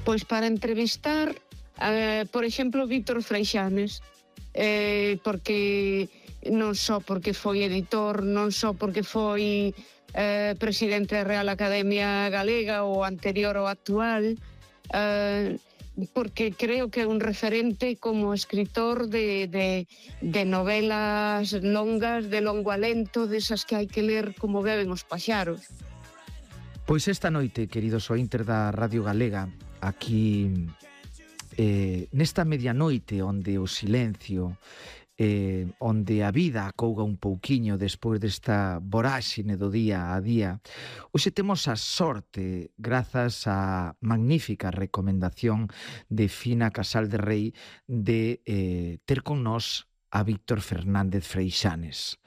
Pois para entrevistar, por exemplo, Víctor Freixanes, porque non só porque foi editor, non só porque foi presidente da Real Academia Galega, o anterior ao actual, porque creo que é un referente como escritor de novelas longas, de longo alento, desas que hai que ler como beben os paxaros. Pois esta noite, queridos ointes da Radio Galega, aquí nesta medianoite onde o silencio, onde a vida acouga un pouquiño despois desta voráxine do día a día, hoxe temos a sorte, grazas á magnífica recomendación de Fina Casal de Rei, de ter con nós a Víctor Fernández Freixanes.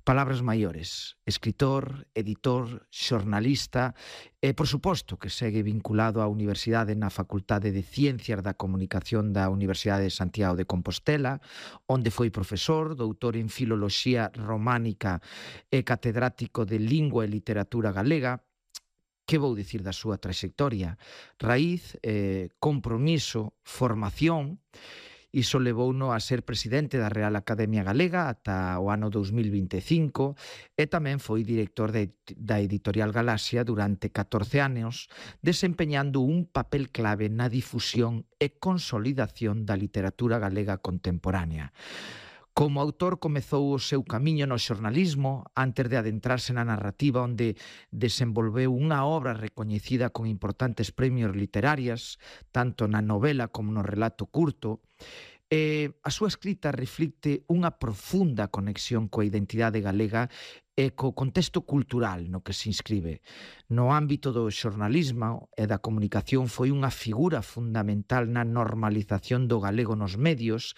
Palabras maiores, escritor, editor, xornalista e, por suposto, que segue vinculado á Universidade na Facultade de Ciencias da Comunicación da Universidade de Santiago de Compostela, onde foi profesor, doutor en Filoloxía Románica e catedrático de Lingua e Literatura Galega. Que vou dicir da súa traxectoria? Raíz, compromiso, formación. Iso levouno a ser presidente da Real Academia Galega ata o ano 2025 e tamén foi director da Editorial Galaxia durante 14 anos, desempeñando un papel clave na difusión e consolidación da literatura galega contemporánea. Como autor comezou o seu camiño no xornalismo antes de adentrarse na narrativa, onde desenvolveu unha obra recoñecida con importantes premios literarias, tanto na novela como no relato curto. A súa escrita reflicte unha profunda conexión coa identidade galega e co contexto cultural no que se inscribe. No ámbito do xornalismo e da comunicación foi unha figura fundamental na normalización do galego nos medios,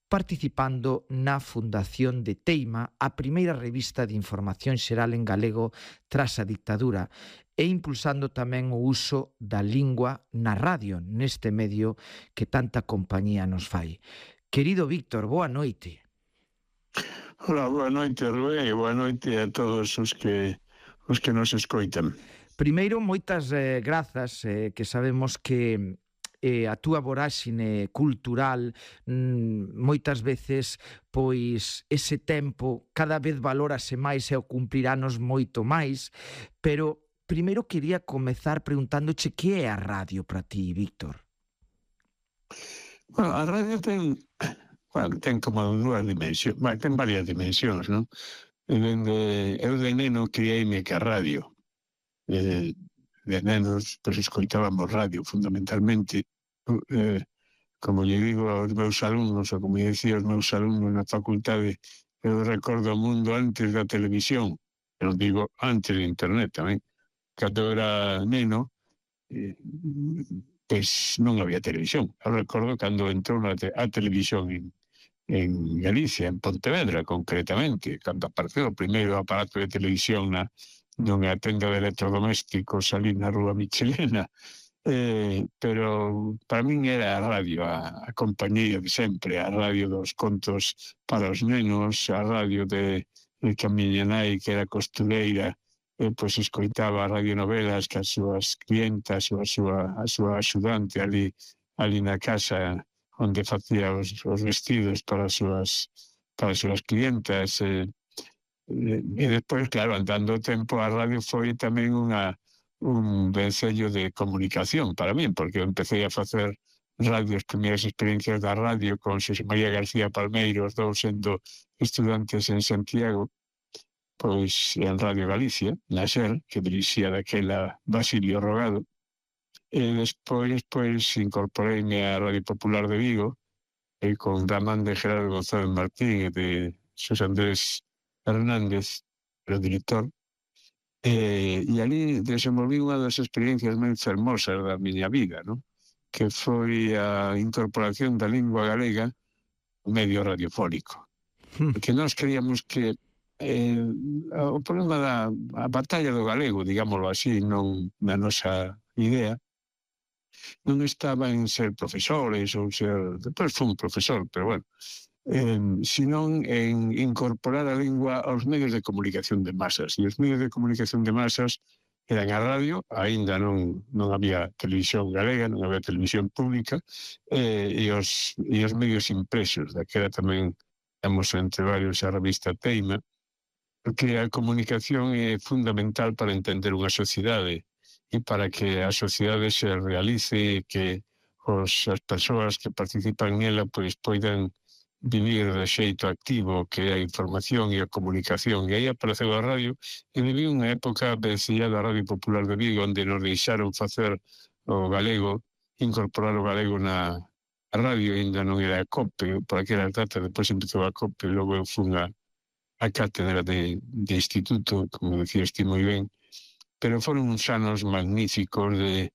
participando na fundación de Teima, a primeira revista de información xeral en galego tras a dictadura, e impulsando tamén o uso da lingua na radio, neste medio que tanta compañía nos fai. Querido Víctor, boa noite. Hola, boa noite, Rubén, e boa noite a todos os que nos escoitan. Primeiro, moitas grazas, que sabemos que a túa voráxine cultural moitas veces, pois ese tempo cada vez valórase máis e o cumpliranos moito máis, pero primeiro quería comezar preguntándoche que é a radio para ti, Víctor. Bueno, a radio ten como dúas dimensións, ten varias dimensións, non? Eu de neno criei-me que a radio. De nenos, pois escoitábamos radio fundamentalmente, como lle digo aos meus alumnos, ou como dicía aos meus alumnos na facultade, eu recordo o mundo antes da televisión, eu digo antes de internet tamén. Cando era neno, pois non había televisión. Eu recordo cando entrou a televisión en Galicia, en Pontevedra concretamente, cando apareceu o primeiro aparato de televisión nunha tenda de electrodomésticos ali na Rúa Michelena, pero para min era a radio, a compañía de sempre, a radio dos contos para os nenos, a radio de que a miña nai, que era costureira, pois escoitaba radionovelas que as súas clientas ou a súa axudante ali na casa onde facía os vestidos para as súas clientas. E despois, claro, andando o tempo, a radio foi tamén un vencello de comunicación para mí, porque eu empecé a facer radio, as primeiras experiencias da radio con Xosé María García Palmeiro, os dous sendo estudantes en Santiago, pois en Radio Galicia, na SER, que dirixía daquela Basilio Rogado, e despois incorporeime á Radio Popular de Vigo, e con Ramán de Gerardo González Martín e de Xosé Andrés Hernández, o director, e ali desenvolví unha das experiencias máis fermosas da miña vida, non? Que foi a incorporación da lingua galega ao medio radiofónico. Porque nós creíamos que o problema da batalla do galego, digámoslo así, non na nosa idea, non estaba en ser profesores ou ser... Depois fui un profesor, pero bueno, senón en incorporar a lingua aos medios de comunicación de masas. E os medios de comunicación de masas eran a radio, aínda non había televisión galega, non había televisión pública, e os medios impresos, daquela tamén temos entre varios a revista Teima, porque a comunicación é fundamental para entender unha sociedade e para que a sociedade se realice e que as persoas que participan nela pois poidan vivir de xeito activo, que é a información e a comunicación. E aí apareceu a radio, e viví unha época vencillada a Radio Popular de Vigo, onde nos deixaron facer o galego, incorporar o galego na radio, ainda non era a COPE, por aquela data, depois empezou a COPE, logo eu fun a cátedra de instituto, como decías ti moi ben, pero foron uns anos magníficos de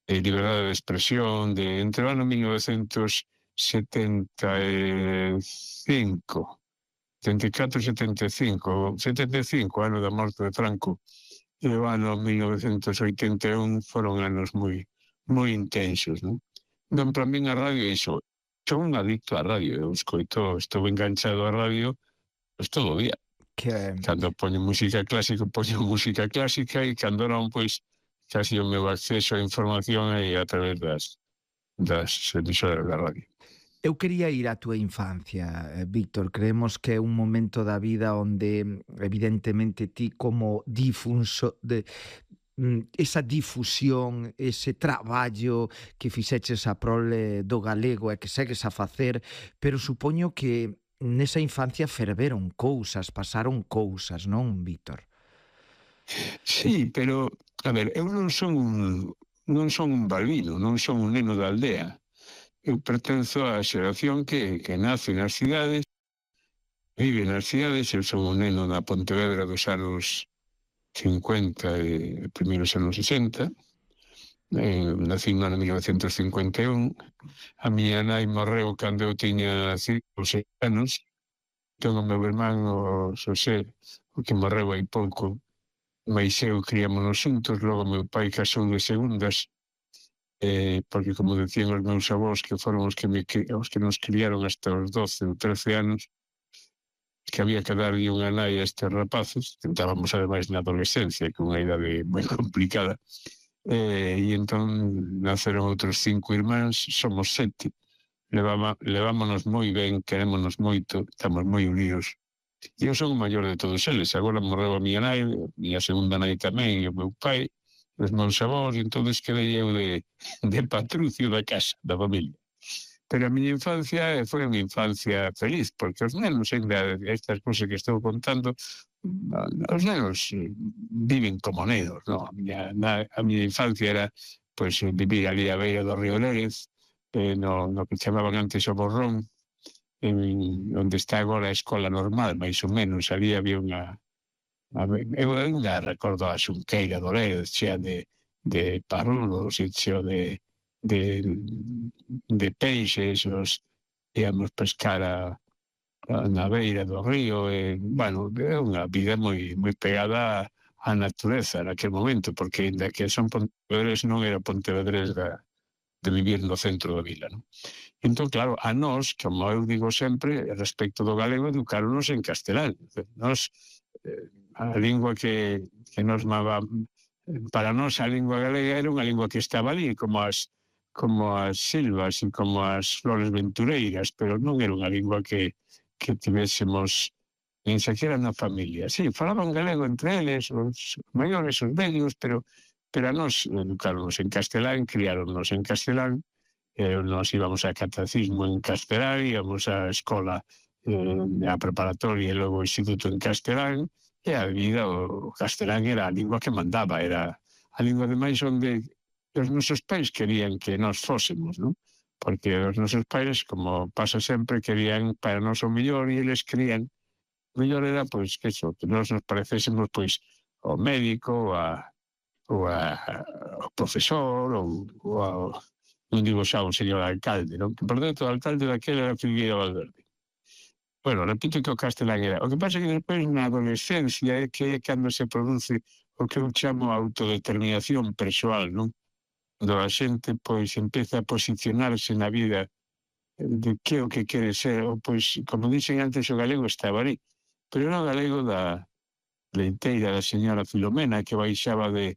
liberdade de expresión, entre o ano 1975, 74 e 75, ano da morte de Franco, e o ano 1981 foron anos moi intensos, non? Entón, para min a radio é iso. Sou un adicto á radio, eu estou enganchado á radio pois todo o día. Cando poño música clásica, e cando non, pois, casi o meu acceso á información é a través das emisoras da radio. Eu quería ir á túa infancia, Víctor. Creemos que é un momento da vida onde, evidentemente, ti como difuso de esa difusión, ese traballo que fixeches a prole do galego e que segues a facer, pero supoño que nesa infancia ferveron cousas, pasaron cousas, non, Víctor? Sí, pero, a ver, eu non son un balbino, non son un neno da aldea. Eu pertenzo á xeración que nace nas cidades, vive nas cidades. Eu son un neno da Pontevedra dos anos 50 e primeiros anos 60. Nací no ano 1951. A miña nai morreu cando eu tiña 5 ou 6 anos. Entón o meu irmán, o Xosé, o que morreu hai pouco, mais eu criámonos xuntos. Logo meu pai casou de segundas, porque, como decían os meus avós, que foron os que nos criaron hasta os 12 ou 13 anos, que había que darlle unha nai a estes rapaces. Tentábamos, ademais, na adolescencia, que unha idade moi complicada, e entón naceron outros 5 irmáns, somos 7. Levámonos moi ben, querémonos moito, estamos moi unidos. E eu son o maior de todos eles. Agora morreu a miña nai, a miña segunda nai tamén, e o meu pai, os meus avós, e entón quedei eu de patrucio da casa, da familia. Pero a miña infancia foi unha infancia feliz, porque os nenos, ainda estas cousas que estou contando, os nenos viven como nenos, non? A miña infancia era, pois, vivir ali a beira do río Lérez, no que chamaban antes o Borrón, onde está agora a escola normal, máis ou menos. Ali había unha... Eu ainda recordo a xunqueira do Lérez, chea de parrulos e cheo de peixes. Íamos pescar na beira do río, e, bueno, é unha vida moi pegada á natureza naquele momento, porque ainda que son pontevedrés, non era pontevedrés de vivir no centro da vila, non? Entón, claro, a nós, como eu digo sempre, respecto do galego, educaronos en castelán. Nós, a lingua que nos para nós, a lingua galega era unha lingua que estaba ali, como as silvas e como as flores ventureiras, pero non era unha lingua que tivésemos nin sequera na familia. Sí, falaban galego entre eles, os maiores, os medios, pero a nós educaronos en castelán, criáronos en castelán. Nos íbamos a catecismo en castelán, íbamos á escola, a preparatoria e logo o instituto en castelán, e a vida, o castelán era a lingua que mandaba, era a lingua ademais onde os nosos pais querían que nós fósemos, non? Porque os nosos pais, como pasa sempre, querían para nós o mellor, e eles querían o mellor era, pois, que nós nos parecésemos, pois, ao médico, ou ao profesor, ou ao, non digo xa, o señor alcalde, non? Que, por dentro, o alcalde daquela era Figueira Valverde. Bueno, repito que o castelán era. O que pasa é que despois, na adolescencia, é que é cando se produce o que eu chamo autodeterminación persoal, non? Cando a xente, pois, empeza a posicionarse na vida de que o que quere ser, ou, pois, como dixen antes, o galego estaba ali, pero era o galego da leiteira da señora Filomena, que baixaba de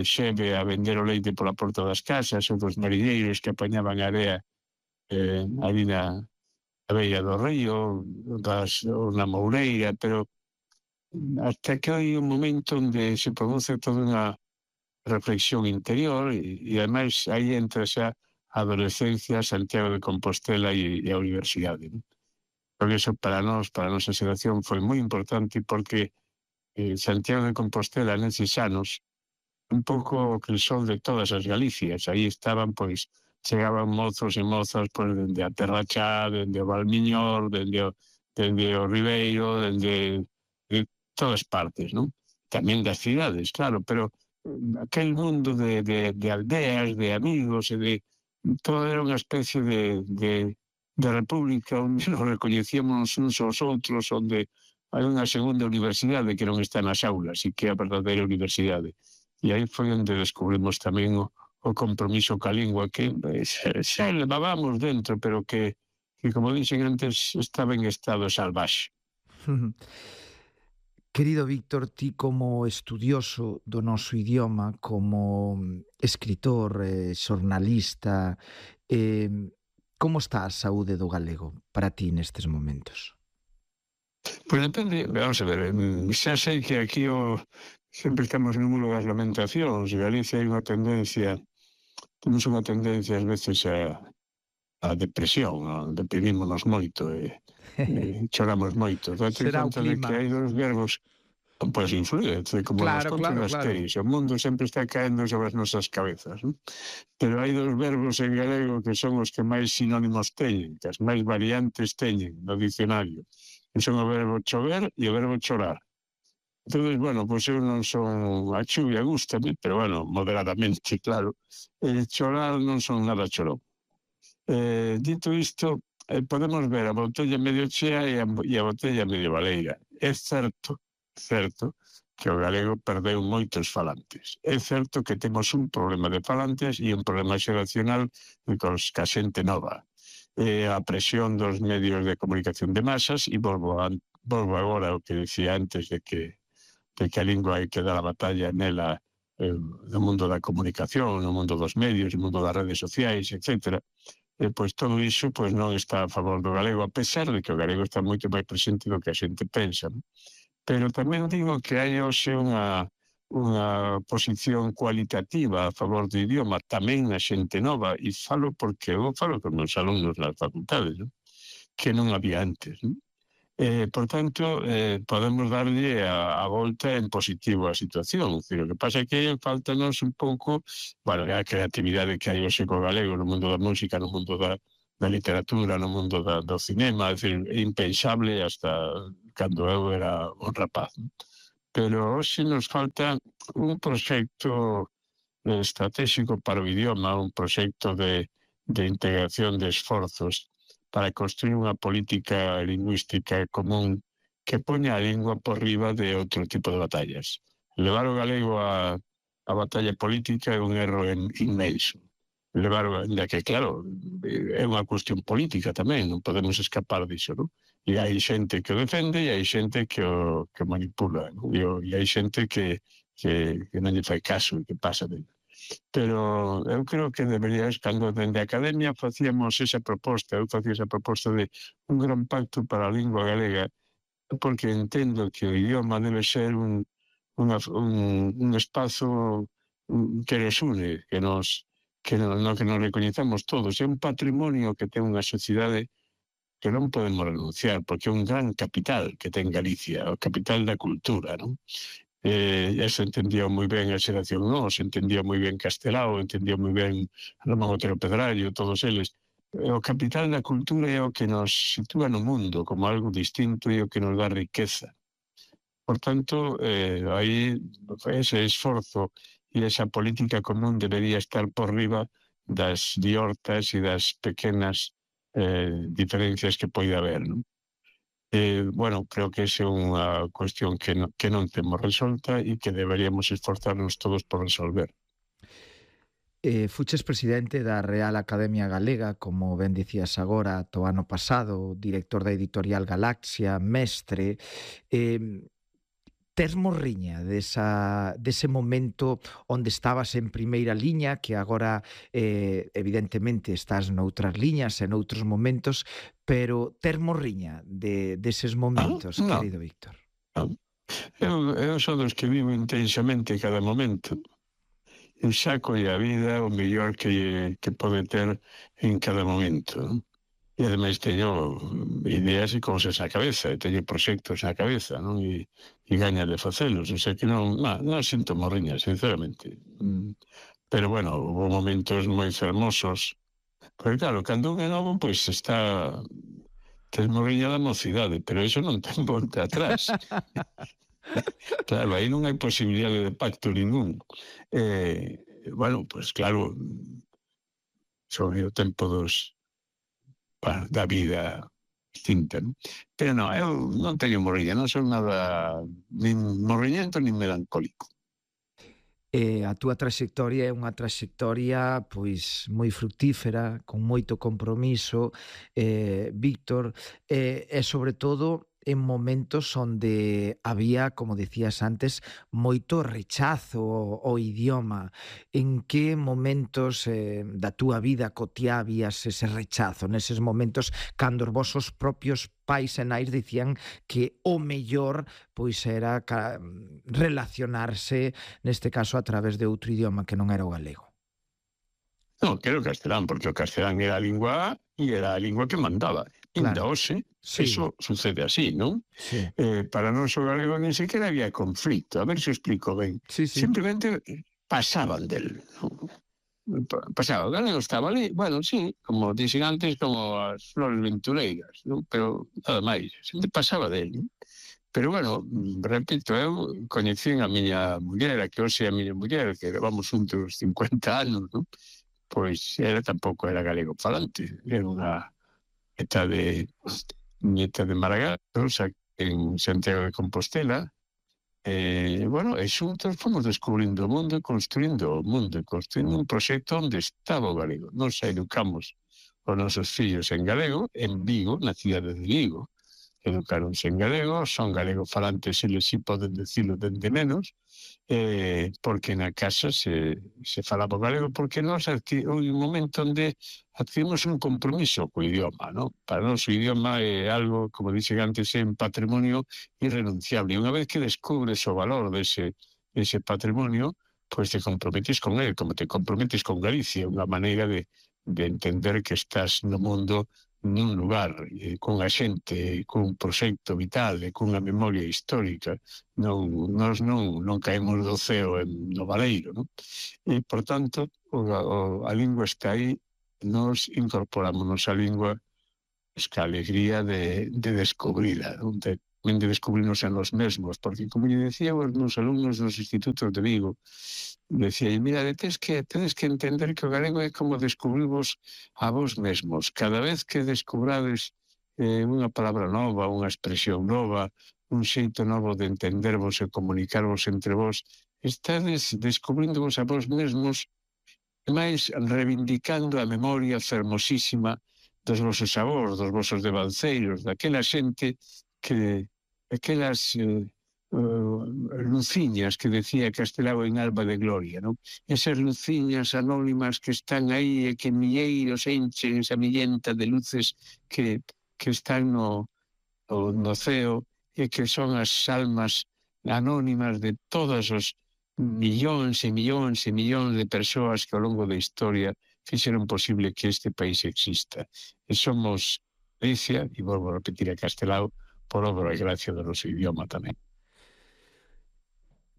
Xeve a vender o leite pola porta das casas, ou dos marineiros que apañaban area ali na beira do río, ou na Moureira, pero hasta que hai un momento onde se produce toda unha reflexión interior e ademais aí entra xa a adolescencia, Santiago de Compostela e a universidade, ¿no? Porque eso para nós, para a nosa xeración, foi moi importante porque Santiago de Compostela neses anos un pouco que el sol de todas as Galicias. Aí estaban, pois, chegaban mozos e mozas pois, dende a Terra Chá, dende o Valmiñor, dende o Ribeiro, de todas partes, non? Tamén das cidades, claro, pero aquel mundo de aldeas, de amigos e de... Todo era unha especie de república onde nos recoñecíamos uns aos outros, onde hai unha segunda universidade que non está nas aulas e que é a verdadeira universidade. E aí foi onde descubrimos tamén o compromiso ca lingua que xa levábamos dentro, pero que como dixen antes, estaba en estado salvaxe. Querido Víctor, ti como estudioso do noso idioma, como escritor, xornalista, como está a saúde do galego para ti nestes momentos? Pois depende, vamos a ver, xa sei que aquí sempre estamos no mundo das lamentacións. Galicia hai unha tendencia, temos unha tendencia ás veces a depresión, deprimímonos moito e choramos moito. Date conta de que hai dos verbos, pois influye, como nos contan as teis, o mundo sempre está caendo sobre as nosas cabezas, non? Pero hai dos verbos en galego que son os que máis sinónimos teñen, que as máis variantes teñen no dicionario, que son o verbo chover e o verbo chorar. Entón, bueno, pois eu non son... A chuvia gústame, pero, bueno, moderadamente, claro. Chorar non son nada chorón. Dito isto, podemos ver a botella medio chea e a botella medio baleira. É certo que o galego perdeu moitos falantes. É certo que temos un problema de falantes e un problema xeracional ca xente nova. A presión dos medios de comunicación de masas, e volvo agora ao que decía antes de que a lingua hai que dar a batalla nela no mundo da comunicación, no mundo dos medios, no mundo das redes sociais, etc. Pois todo iso non está a favor do galego, a pesar de que o galego está moito máis presente do que a xente pensa. Pero tamén digo que hai hoxe unha posición cualitativa a favor do idioma, tamén na xente nova, e falo porque eu falo con os alumnos nas facultades, que non había antes, non? Por tanto, podemos darlle a volta en positivo a situación. O que pasa é que faltanos un pouco, bueno, a creatividade que hai hoxe co galego no mundo da música, no mundo da literatura, no mundo do cinema, é dicir, impensable hasta cando eu era un rapaz. Pero hoxe nos falta un proxecto estratégico para o idioma, un proxecto de integración de esforzos para construir unha política lingüística común que poña a lingua por riba de outro tipo de batallas. Levar o galego a batalla política é un erro inmenso. Ainda que, claro, é unha cuestión política tamén, non podemos escapar disso, non? E hai xente que o defende e hai xente que o manipula, non? E hai xente que non lle fai caso e que pasa dele. Pero eu creo que deberías, cando dende a academia facíamos esa proposta, eu facía esa proposta de un gran pacto para a lingua galega, porque entendo que o idioma debe ser un espazo que nos une, que nos recoñezamos todos. É un patrimonio que ten unha sociedade que non podemos renunciar, porque é un gran capital que ten Galicia, o capital da cultura, non? Se entendía moi ben a xeración nós, entendía moi ben Castelao, entendía moi ben Ramón Otero Pedrallo, todos eles. O capital da cultura é o que nos sitúa no mundo como algo distinto e o que nos dá riqueza. Por tanto, aí ese esforzo e esa política común debería estar por riba das diortas e das pequenas diferencias que pode haber, non? Bueno, creo que esa é unha cuestión que non temos resolta e que deberíamos esforzarnos todos por resolver. Fuches presidente da Real Academia Galega, como ben dicías agora, o ano pasado, director da editorial Galaxia, mestre. tes morriña dese momento onde estabas en primeira liña, que agora evidentemente estás noutras liñas e noutros momentos, pero tes morriña deses momentos, No, querido Víctor? non. Eu son dos que vivo intensamente cada momento. Eu saco a vida o mellor que pode ter en cada momento, non? E ademais teño ideas e cousas na cabeza, e teño proxectos na cabeza, non? E gañas de facelos, o sea que non sinto morriña, sinceramente. Pero bueno, hubo momentos moi fermosos, porque claro, cando un é novo, pois tes morriña da mocidade, pero iso non ten volta atrás. Claro, aí non hai posibilidade de pacto ningún. Bueno, pois claro, son o tempo da vida distinta, non? Pero non, eu non teño morriña, non son nada nin morriñento nin melancólico. A túa traxectoria é unha traxectoria pois moi fructífera, con moito compromiso, Víctor, e sobre todo en momentos onde había, como decías antes, moito rechazo ao idioma. En que momentos da túa vida cotiá habías ese rechazo? Neses momentos cando os vosos propios pais e nais dicían que o mellor pois era relacionarse, neste caso a través de outro idioma que non era o galego. Non, que era o castelán, porque o castelán era a lingua e era a lingua que mandaba. Ainda hoxe, sí. Eso sucede así, non? Sí. Para nós o galego nin sequera había conflito. A ver se explico ben. Sí. Simplemente pasaban del. Pasaba, o galego estaba ali, bueno, sí, como dixen antes, como as flores ventureiras, non? Pero nada máis, sempre pasaba del, non? Pero bueno, repito, eu coñecín a miña muller, a que hoxe é a miña muller, que levamos juntos 50 anos, non? Pois ela tampouco era galego falante, era unha nieta de Maragatos, en Santiago de Compostela. Bueno, e xuntos fomos descubrindo o mundo e construindo un proxecto onde estaba o galego. Nos educamos os nosos fillos en galego, en Vigo, na cidade de Vigo. Educaronse en galego, son galego falantes, eles si poden decirlo dende menos, porque na casa se falaba galego, porque nós un momento onde adquirimos un compromiso co idioma, non? Para nós o idioma é algo, como dixen antes, é un patrimonio irrenunciable. Unha vez que descubres o valor dese patrimonio, pois te comprometes con ele, como te comprometes con Galicia, unha maneira de entender que estás no mundo nun lugar, cunha xente, cun proxecto vital, cunha memoria histórica. Nós non caemos do ceo no baleiro, non? E, por tanto, a lingua está aí, nós incorporámonos a lingua a alegría de descubrila, non? De descubrirnos en nos mesmos, porque, como lle decía os meus alumnos dos institutos de Vigo, decía, mira, tedes que entender que o galego é como descubrirvos a vos mesmos. Cada vez que descubrades unha palabra nova, unha expresión nova, un xeito novo de entendervos e comunicarvos entre vos, estades descubríndovos a vos mesmos e máis reivindicando a memoria fermosísima dos vosos avós, dos vosos devanceiros, daquela xente que aquelas luciñas que decía Castelao en Alba de Gloria, non? Esas luciñas anónimas que están aí e que milleiros enchen esa millenta de luces que están no ceo e que son as almas anónimas de todos os millóns e millóns e millóns de persoas que ao longo da historia fixeron posible que este país exista. E somos Galicia, e volvo a repetir a Castelao, por obra e gracia do noso idioma tamén.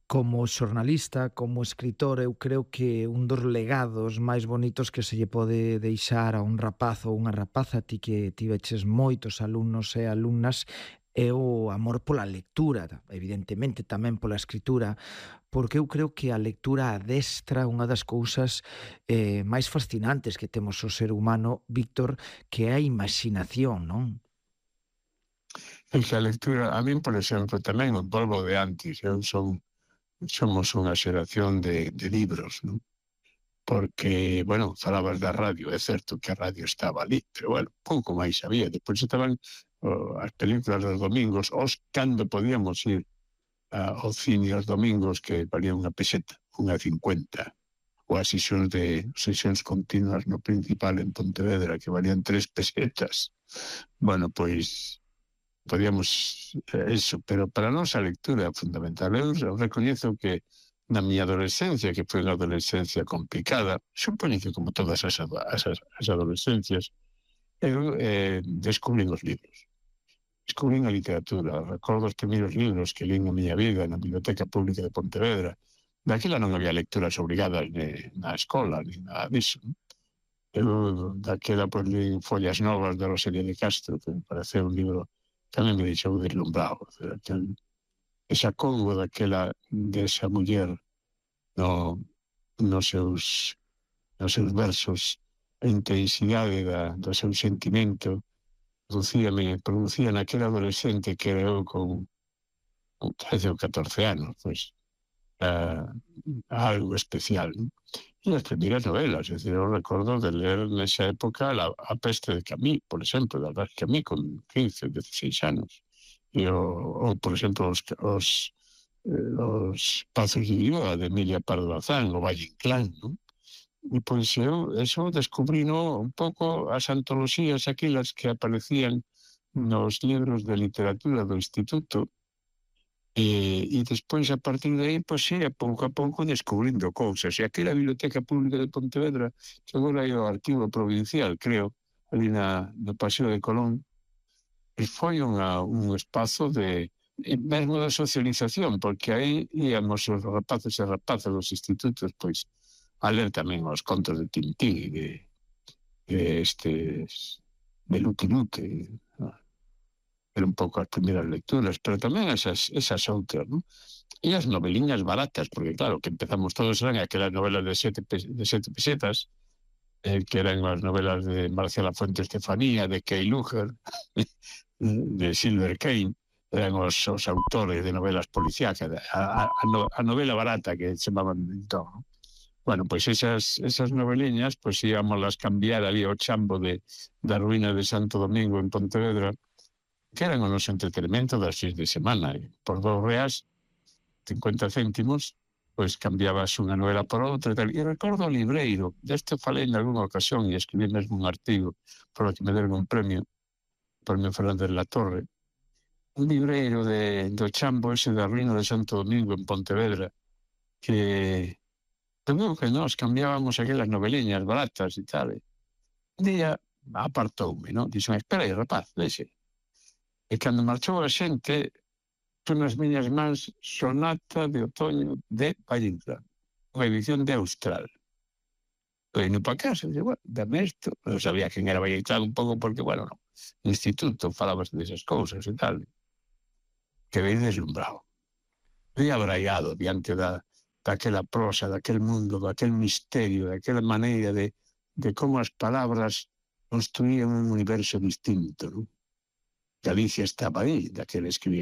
Como xornalista, como escritor, eu creo que un dos legados máis bonitos que se lle pode deixar a un rapaz ou unha rapaza, ti que tiveches moitos alumnos e alumnas, é o amor pola lectura, evidentemente tamén pola escritura, porque eu creo que a lectura adestra unha das cousas máis fascinantes que temos o ser humano, Víctor, que é a imaginación, non? E que a lectura, a min, por exemplo, tamén o polvo de antes, somos unha xeración de libros, non? Porque, bueno, falabas da radio, é certo que a radio estaba ali, pero, bueno, pouco máis había. Depois estaban as películas dos domingos, cando podíamos ir ao cine aos domingos que valía unha peseta, unha 50, ou as sesións continuas no Principal en Pontevedra que valían 3 pesetas. Bueno, pois podíamos eso, pero para nós a lectura é fundamental. Eu recoñezo que na miña adolescencia, que foi unha adolescencia complicada, supoño que como todas as adolescencias, eu descubrín os libros. Descubrín a literatura. Recordo os primeiros libros que lín na miña vida na Biblioteca Pública de Pontevedra. Daquela non había lecturas obrigadas na escola, ni nada disso. Eu daquela pois lín Follas Novas de Rosalía de Castro, que me parece un libro que tamén me deixou deslumbrado. Esa coubo desa muller nos seus versos, a intensidade do seu sentimento, producía naquele adolescente que era eu con 13 ou 14 anos, pois, algo especial, non? E as primeiras novelas, es decir, eu recordo de ler nesa época A peste de Camus, por exemplo, de Albert Camus, con 15, 16 anos, ou por exemplo, os Pazos de Viva, de Emilia Pardo Bazán, o Valle Inclán, non? E pois eso descubrino un pouco as antoloxías aquelas que aparecían nos libros de literatura do instituto, e despois a partir de aí, pois sí, a pouco descubrindo cousas. E aquela Biblioteca Pública de Pontevedra, que agora é o Arquivo Provincial, creo, ali no Paseo de Colón, e foi un espazo mesmo de socialización, porque aí íamos os rapaces e rapazas dos institutos, pois, a ler tamén os contos de Tintín e de Lucky Luke. Eran un pouco as primeiras lecturas, pero tamén esas outras, non? E as noveliñas baratas, porque claro, que empezamos todos eran aquelas novelas de 7 pesetas, que eran as novelas de Marcial Lafuente Estefanía, de Kay Luger, de Silver Kane, eran os autores de novelas policíacas, a novela barata que chamaban entón, non? Bueno, pois esas noveliñas, pois íamos cambiar ali ao chambo da ruína de Santo Domingo en Pontevedra, que eran o noso entretenimento das fins de semana. Por R$2,50, pois cambiabas unha novela por outra e tal. E recordo o libreiro, deste falei en algunha ocasión e escribí mesmo un artigo por o que me deron un premio Fernández La Torre, un libreiro do chambo ese da ruína de Santo Domingo en Pontevedra, que veo que nós cambiábamos aquelas noveliñas baratas e tal. Un día apartoume, non? Dixo, espera aí, rapaz, deixe. E cando marchou a xente, son nas miñas mans Sonata de Outoño de Valle Inclán, unha edición de Austral. E no pa casa, dixo, bueno, dame isto. Non sabía quen era Valle Inclán un pouco porque, bueno, no instituto falabas desas cousas e tal. Quedei deslumbrado. Quedei abraiado diante daquela prosa, daquel mundo, daquel misterio, daquela maneira de como as palabras construían un universo distinto, non? Galicia estaba aí, daquele escribir.